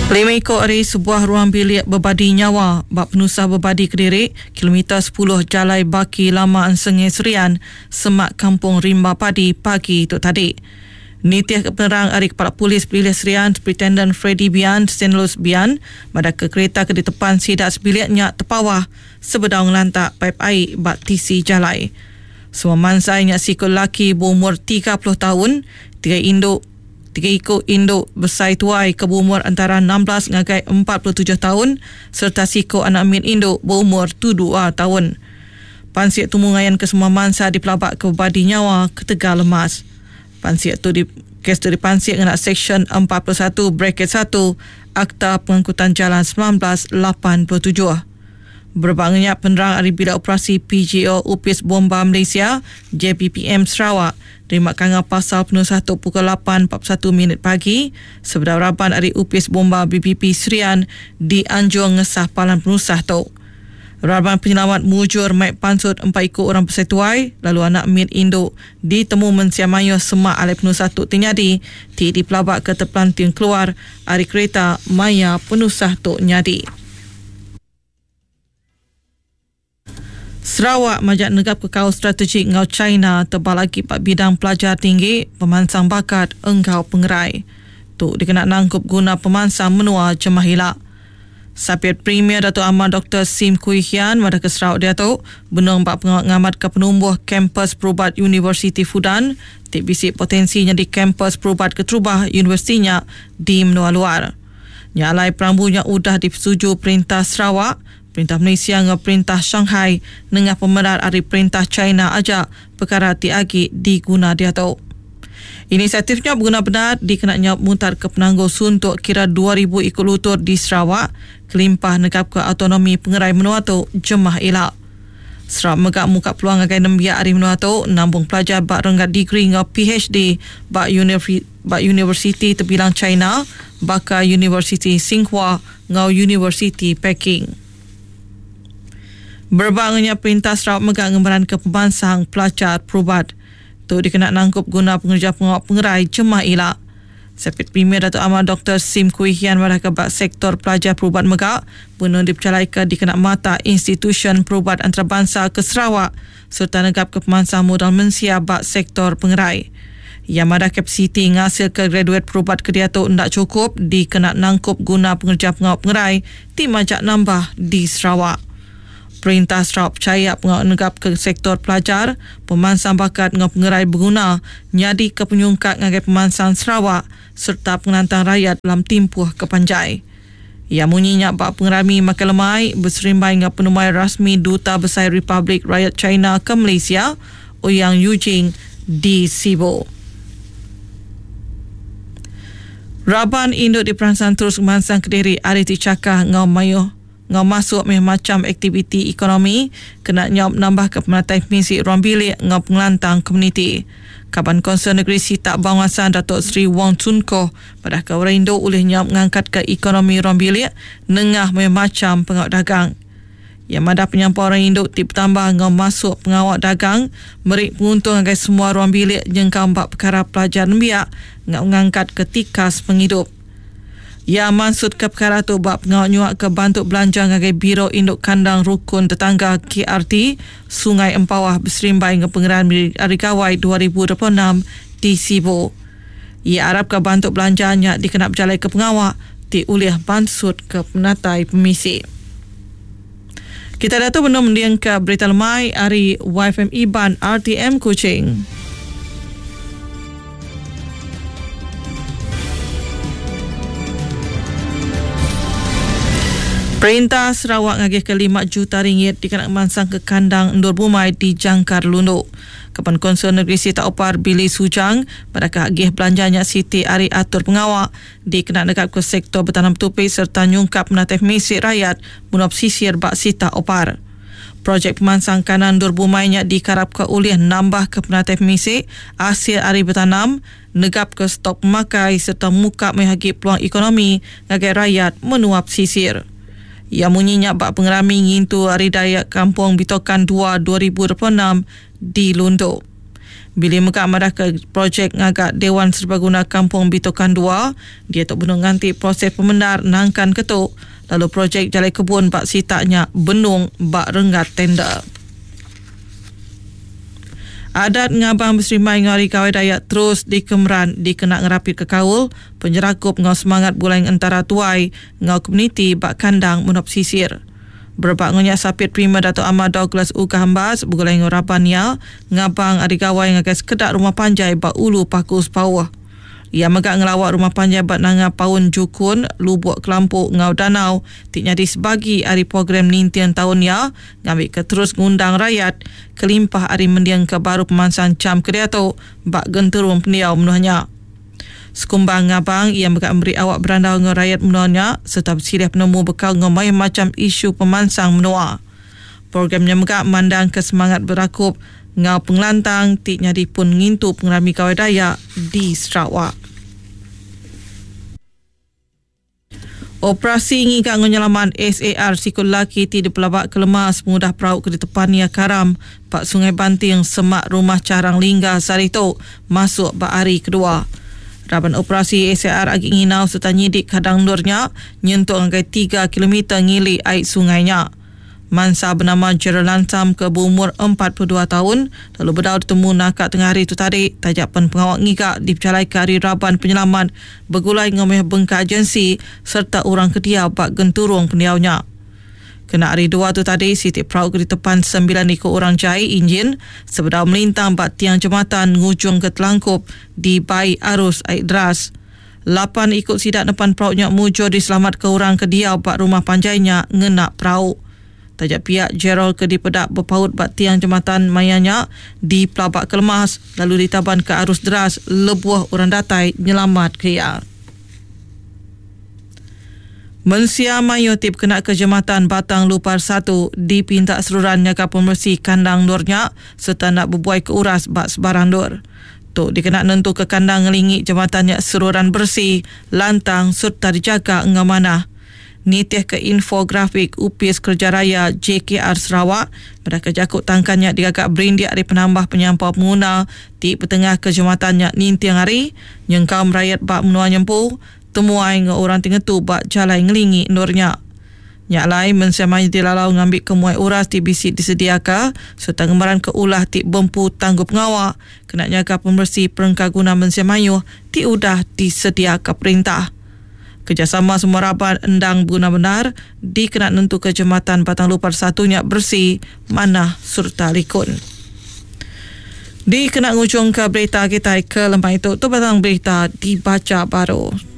Lima iku ari sebuah ruang bilik bebadi nyawa ba penusah bebadi kediri kilometer sepuluh Jalai Baki Lama Ensengei Serian semak Kampung Rimba Padi pagi tu tadi. Nitihka penerang ari Kepala Polis Pelilih Serian Superintenden Freddy Bian Stanlus Bian madahka kerita ke ditepan sida sebilik nya tepawah sebedau ngelantak paip ai ba tisi jalai. Semua mansai nya siku lelaki beumur 30 taun, tiga indu tiga iku indu besai tuai ke beumur entara 16 ngagai 47 taun sereta siku anak mit indu beumur dua taun. Pansik tumu ngayanka semua mansa dipelabaka bebadi nyawa ketegal lemas. Pansik tu di kes tu dipansik ngena Seksyen 41 bracket satu Akta Pengangkutan Jalan 1987. Berebak enggau nya, penerang ari Bilik Operasi PGO Opis Bomba Malaysia, JBPM, Sarawak nerima kangau pasal penusah tu pukul lapan 41 minit pagi sebedau raban ari Opis Bomba BBP Serian dianjung ngesah palan penusah tu. Raban penyelamat mujur mai pansut empat iku orang besai tuai lalu anak mit indu ditemu mensia mayuh semak alai penusah tu ti nyadi ti dipelabaka tepelanting keluar ari kerita maya penusah tu nyadi. Sarawak majak negapka kaul strategik enggau China tebal agi ba bidang pelajar tinggi, pemansang bakat enggau pengerai. Tu dikena nangkup guna pemansang menua jemah ila. Sapit Premier Datuk Amar Doktor Sim Kui Hian madahka Sarawak diatu benung ba pengawa ngamatka penumbuh Kampus Perubat Universiti Fudan ti bisi potensi nyadi kampus perubat keterubah universiti nya di menua luar. Nya alai perambu nya udah dipesetuju Perintah Sarawak, Perintah Malaysia enggau Perintah Shanghai nengah pemerat ari Perintah China aja pekara ti agi diguna diatu. Inisiatif nya beguna bendar dikena nyaup mutarka penanggul suntuk kira 2000 iku lutur di Sarawak kelimpah negapka autonomi pengerai menua tu jemah ila. Sarawak mega muka peluang ngagai nembiak ari menua tu nambung pelajar ba renggat degree enggau PhD ba ba universiti tebilang China baka Universiti Tsinghua enggau Universiti Peking. Berebak enggau nya Perintah Sarawak mega ngemeranka pemansang pelajar perubat. Tu dikena nangkup guna pengereja pengawa pengerai jemah ila. Sapit Premier Datuk Amar Doktor Sim Kui Hian madahka ba sektor pelajar perubat mega benung dipejalaika dikena matak institusyen perubat antarabansa ke Sarawak sereta negapka pemansang modal mensia ba sektor pengerai. Iya madah kapasiti ngasilka graduet perubat ke diatu enda chukup dikena nangkup guna pengereja pengawa pengerai ti majak nambah di Sarawak. Perintah Sarawak pechaya pengawa negapka sektor pelajar, pemansang bakat enggau pengerai beguna nyadika penyungkak ngagai pemansang Sarawak sereta pengelantang rayat dalam timpuh ke panjai. Iya munyi nya ba pengerami makai lemai beserimbai enggau penemuai rasmi Duta Besai Republik Rakyat China ke Malaysia, Ouyang Yujing di Sibu. Raban indu diperansang terus ngemansangka diri ari ti chakah enggau mayuh Enggau masuk mih macham aktiviti ekonomi kena nyaup nambahka penatai pemisi ruang bilik enggau pengelantang komuniti. Kaban Kaunsil Negeri Sitak Bawang Assan Datuk Seri Wong Tsun Koh madahka orang indu ulih nyaup ngangkatka ekonomi ruang bilik nengah mayuh macham pengawa dagang. Iya madah penyampau orang indu ti betambah enggau masuk pengawa dagang meri penguntung ngagai semua ruang bilik nyengkaum ba pekara pelajar nembiak enggau ngangkatka tikas pengidup. Iya mansutka pekara tu ba pengawa nyuaka bantu belanja ngagai Biro Indu Kandang Rukun Tetangga, KRT, Sungai Empawah beserimbai enggau Pengerami Hari Gawai 2026 di Sibu. Iya arapka bantu belanja nya dikena bejalaika pengawa ti ulih mansutka penatai pemisi. Kita diatu benung mendingka Berita Lemai ari YFM Iban RTM Kuching. Perintah Sarawak ngagihka lima juta ringgit dikena ngemansangka kandang endur bumai di Jangkar Lundu. Kaban Konsul Negeri Sitak Opar Billy Sujang madahka agih belanja nya siti ari atur pengawa dikena negapka sektor betanam betupi sereta nyungkap penatai pemisi rayat menua pesisir ba Sitak Opar. Projek pemansang kanan endur bumai nya dikarapka ulih nambahka penatai pemisi asil ari betanam, negapka stok pemakai sereta muka mayuh agi peluang ekonomi ngagai rayat menua pesisir. Iya munyi nya ba pengerami ngintu Hari Dayak Kampung Bitokan dua 2026 di Lundu. Billy mega madahka projek ngaga Dewan Serbaguna Kampung Bitokan dua diatu benung nganti proses pemendar nangkan ke tu lalu projek jalai kebun ba sitak nya benung ba renggat tender. Adat ngabang beserimbai enggau Hari Gawai Dayak terus dikemeran dikena ngerapitka kaul, penyerakup enggau semangat begulai entara tuai enggau komuniti ba kandang menua pesisir. Berebak enggau nya Sapit Premier Datuk Amar Douglas Uggah Embas begulai enggau raban iya ngabang ari gawai ngagai sekeda rumah panjai ba Ulu Paku Sepauh. Iya mega ngelawa rumah panjai ba Nanga Paun Jukun, Lubok Kelampu enggau Danau ti nyadi sebagi ari program ninting taun iya ngambika terus ngundang rayat kelimpah ari mendingka baru pemansang cham ke diatu ba genturung pendiau menua nya. Sekumbang ngabang, iya mega meri awak berandau enggau rayat menua nya sereta besilih penemu bekaul enggau mayuh macham isu pemansang menua. Program nya mega mandangka semangat berakup enggau pengelantang ti nyadi pun ngintu pengerami Gawai Dayak di Sarawak. Operasi ngiga enggau nyelamat SAR siku lelaki ti dipelabaka lemas pengudah perau ke ditepan iya karam ba Sungai Banting semak Rumah Charang Lingga sehari tu masuk ba hari kedua. Raban operasi SAR agi nginau sereta nyidik kadang endur nya nyentuk ngagai tiga kilometer ngili ai sungai nya. Mansa benama Gerald Lansam ke beumur 42 taun lalu bedau ditemu naka tengah hari tu tadi taja pen pengawa ngiga dipejalaika ari raban penyelamat begulai enggau mayuh bengkah agensi sereta orang ke diau ba genturung pendiau nya. Kena hari Dua tu tadi siti perau ke ditepan sembilan iku orang jai injin sebedau melintang ba tiang jematan ngujungka telangkup dibai arus ai deras. Lapan iku sida nepan perau nya mujur diselamatka orang ke diau ba rumah panjai nya ngena perau. Taja pia, Gerald ke dipeda bepaut ba tiang jematan maya nya dipelabaka lemas lalu ditabanka arus deras lebuh orang datai nyelamatka iya. Mensia mayuh ti bekenaka Jematan Batang Lupar satu dipinta seruran nyaga pemeresi kandang endur nya sereta enda bebuaika uras ba sebarang endur. Tu dikena nentuka kandang ngelingi jematan nya seruran beresi, lantang sereta dijaga enggau manah. Nitihka infografik Opis Kereja Raya, JKR, Sarawak, madahka jaku tangkan nya digaga berindik ari penambah penyampau penguna ti betengahka jematan nya ninting hari, nyengkaum rayat ba menua nya empu, temuai enggau orang ti ngetu ba jalai ngelingi endur nya. Nya alai, mensia mayuh dilalau ngambika muai uras ti bisi disediaka sereta ngemeranka ulah ti bempu tanggungpengawa kena nyaga pemeresi perengkaguna mensia mayuh ti udah disediaka perintah. Kerejasama semua raban endang beguna bendar dikena nentuka Jematan Batang Lupar satu nya beresi, manah sereta likun. Dikena ngujungka berita kitai ke lemai tu, tu batang berita dibacha baru.